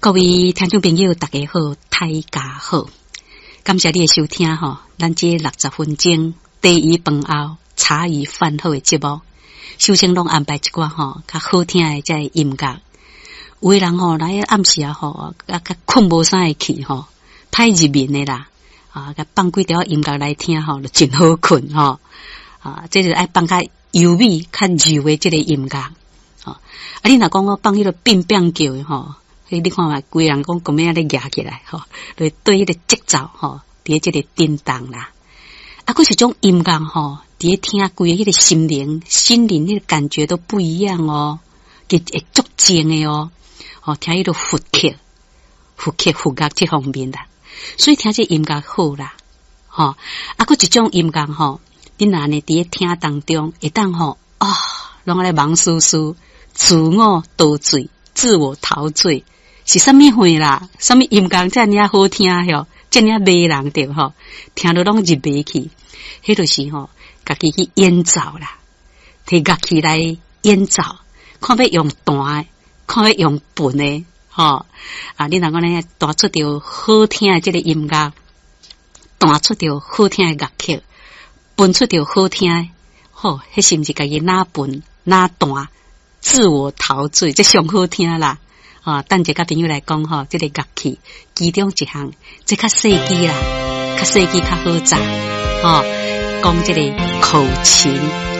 各位聽眾朋友，大家好，大家好，感謝你的收聽吼。咱這60分鐘茶餘飯後茶餘飯後的節目，首先攏安排一寡吼較好聽的這个音樂。有的人吼來暗時啊吼，啊較睏無啥會去吼，歹入眠的啦，啊，共放幾條音樂來聽吼，就真好睏吼。啊，這是愛放較優美、較柔的這个音樂。吼，啊，你若講我放彼个變變叫的吼，彼你看覓，規人講講欲按呢蜈起來吼，就對彼个節奏吼，佇咧這个震動啦。啊，閣一種音樂吼，佇咧聽規個彼个心靈、心靈彼个感覺都不一樣哦，會足靜的哦。吼，聽彼个佛曲、佛曲、佛樂這方面啦，所以聽這音樂好啦，吼。啊，閣一種音樂吼，你若按呢佇咧聽當中，會當吼啊，攏按呢茫絲絲，自我陶醉、自我陶醉，是啥物貨啦？啥物音樂遮爾仔好聽吼，遮爾仔迷人著吼，聽著攏入迷去。彼就是吼，家己去演奏啦，提樂器來演奏，看欲用彈的，看欲用撥的，吼啊！你若講呢，彈出著好聽的這个音樂，彈出著好聽的樂曲，撥出著好聽的，吼，彼是毋是家己若撥若彈，自我陶醉，這上好聽啦！啊，等一下佮朋友來講吼，這个樂器其中一項，這較細支啦，較細支較好紮，吼，講這个口琴。